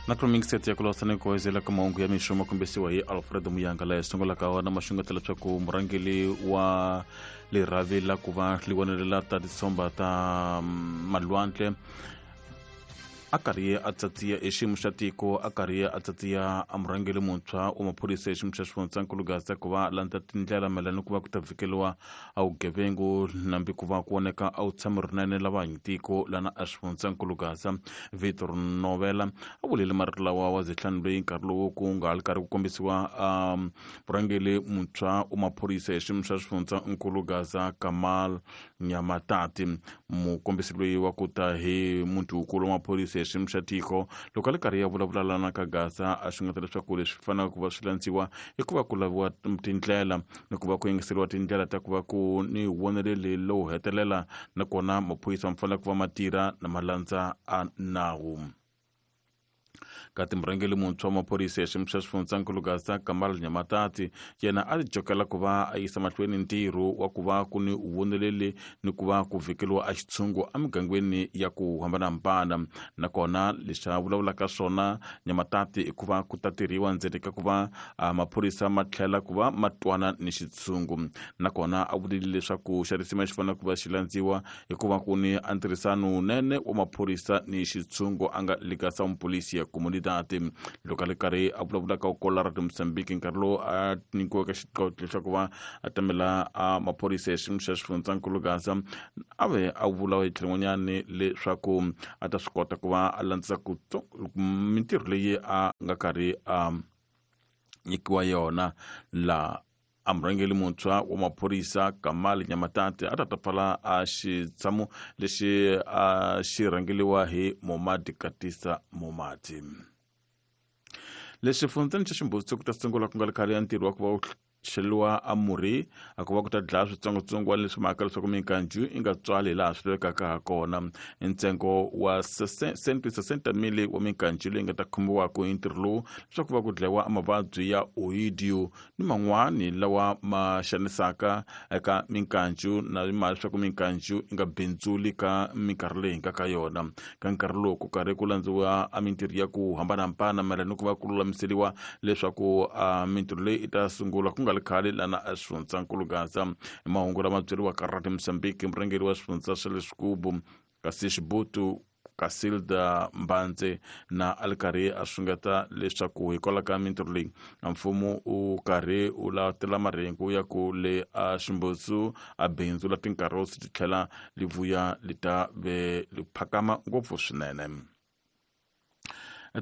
Na kulomingiseto ya kulosa ni kuwezela ka mahungu ya mixo makombisiwa hi Alfredo Muyanga laha sungulaka wona maxungeta leswaku murhangeli wa lirhavi la ku va liwonelela ta titshomba ta malwandle a karhi a tsatsiya hi xiyimo xa tiko a karhi a tsatsiya a murhangeli muntshwa wa maphorisa hi xiyimo xa xifundzankulu Gaza ku va landza tindlela mayelana ni ku va ku ta vhikeliwa a vugevengu nambi ku va ku voneka a wu tshami rinene lava hanyi tiko lana a xifundzankulu Gaza. Victor Novela a vulile marito lawa wa zehlani loyi nkarhi lowu ku nga ha ri karhi ku kombisiwa murhangeli muntshwa wa maphorisa hi xiyimo xa xifundzankulu Gaza Kamal Nyamatati. Mukombisi loyi wa ku ta hi muti wukulu wa maphorisa hi xiyimo xa tiko loko a ri karhi ya vulavula lana ka Gaza a xungeta leswaku leswi fanelaka ku va swi landziwa i ku va ku laviwa tindlela ni ku va ku yingiseriwa tindlela ta ku va ku ni voneleli lowu hetelela nakona maphorisa ma fanele ku va ma tirha na ma landza a nawu. Kati murhangeri muntshwa wa maphorisa ya xiyimo xa xifundzankulu Gaza Kamal Nyamatati yena a jokela ku va a yisa mahlweni ntirho wa ku va ku ni voneleli ni ku va ku vhikeliwa a xitshungu emigangeni ya ku hambanahambana. Nakona leswi a vulavulaka swona Nyamatati i ku va ku ta tirhiwa ndzeni ka ku va maphorisa ma tlhela ku va ma twana ni xitshungu. Nakona a vulile leswaku xa risima xi fanele ku va xi landziwa hikuva ku ni a ntirhisano wunene wa maphorisa ni xitshungu a nga le ka Sound Police ya Comunidade. Loko a ri karhi a vulavula ka Kola ra Mozambique nkarhi lowu a nyikiweke xiqoqo leswaku va a tamela a maphorisa ya xiyimo xa xifundzankulu Gaza a ve a vula hi tlhelo rin'wanyani leswaku a ta swi kota ku va a landzisa ku mintirho leyi a nga karhi a nyikiwa yona laha a murhangeri muntshwa wa maphorisa Kamal Nyamatati a ta ta pfala a xitshamo lexi a xi rhangeliwa hi Momadi Katisa Momadi. Leswi xifundzeni xa Ximbutsu ku ta sungula ku nga ri khale ya ntirho wa ku va wu xeliwa a murhi a ku va ku ta dlaya switsongwatsongwana leswi mhaka leswaku minkanju yi nga tswali hilaha swi lavekaka ha kona. Ntsengo wa 160 mili wa minkanju leyi nga ta khomiwaka hi ntirho lowu leswaku va ku dlayiwa mavabyi ya oidio ni man'wani lawa ma xanisaka eka minkancu na mali leswaku minkancu yi nga bindzuli ka minkarhi leyi nga ka yona. Ka nkarhi lowu ku karhi ku landziwa a mintirho ya ku hambanahambana mayelana ni ku va ku lulamiseriwa leswaku a mintirho leyi yi ta sungula ku nga ri khale lana a xifundzankulu Gaza. Hi mahungu lama byeriwaka Radio Mozambique murhangeri wa xifundza xa le Xigubu kasi Xibutu Casilda Mbandze na a ri karhi a xungeta leswaku hikwalaho ka mintirho leyi mfumo wu karhi wu latela marhengu ya ku le a Ximbutsu a bindzu la tinkarosi ti tlhela li vuya li ta ve li phakama ngopfu swinene.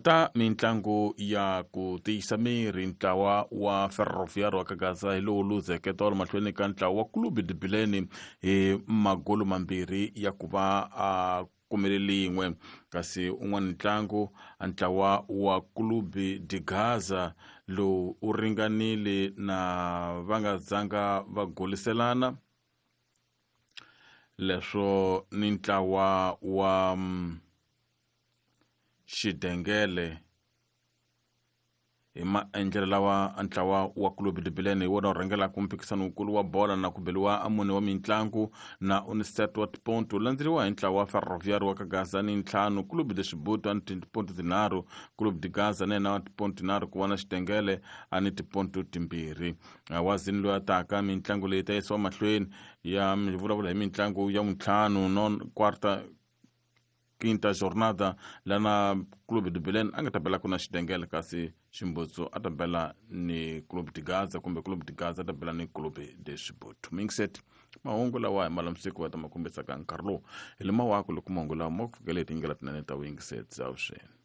Ta mintlangu ya ku tiyisa miri ntlawa wa Ferroviário wa ka Gaza hi lowu luzeke tolo mahlweni ka ntlawa wa Clube de Bilene hi magolo mambirhi ya ku va a kumele lin'we kasi un'wana ntlangu ntlawa wa Clube de Gaza lowu u ringanile na va nga zanga va goliselana leswo ni ntlawa wa Xidengele hi maendlelo lawa ntlawa wa Clube de Belém hi wona wu rhangelaka mphikisano wukulu wa bola na ku beliwa a mune wa mintlangu na Unicet wa tiponto landzeriwa hi ntlawa wa Ferroviário wa ka Gaza ni ntlhanu Clube de Xibuto a ni tiponto tinharhu Clube de Gaza na yena wa tiponto tinharhu ku va na Xidengele a ni tiponto timbirhi wazini loyi a taka mintlangu leyi ta yisiwa mahlweni ya vulavula hi mintlangu ya vuntlhanu non quarta quinta jornada lana Clube de Belém a nga ta bela ku na Xidengele kasi Ximbutsu a ta bela ni Clube de Gaza kumbe Clube de Gaza a ta bela ni Clube de Xibutu. Mingset mahungu lawa hi malamusiku va ta ma kombisaka nkarhi lowu hi le mawako loko mahungu lawa ma ku fikele hi tindlela tinene ta vuyingiseti avuxeni.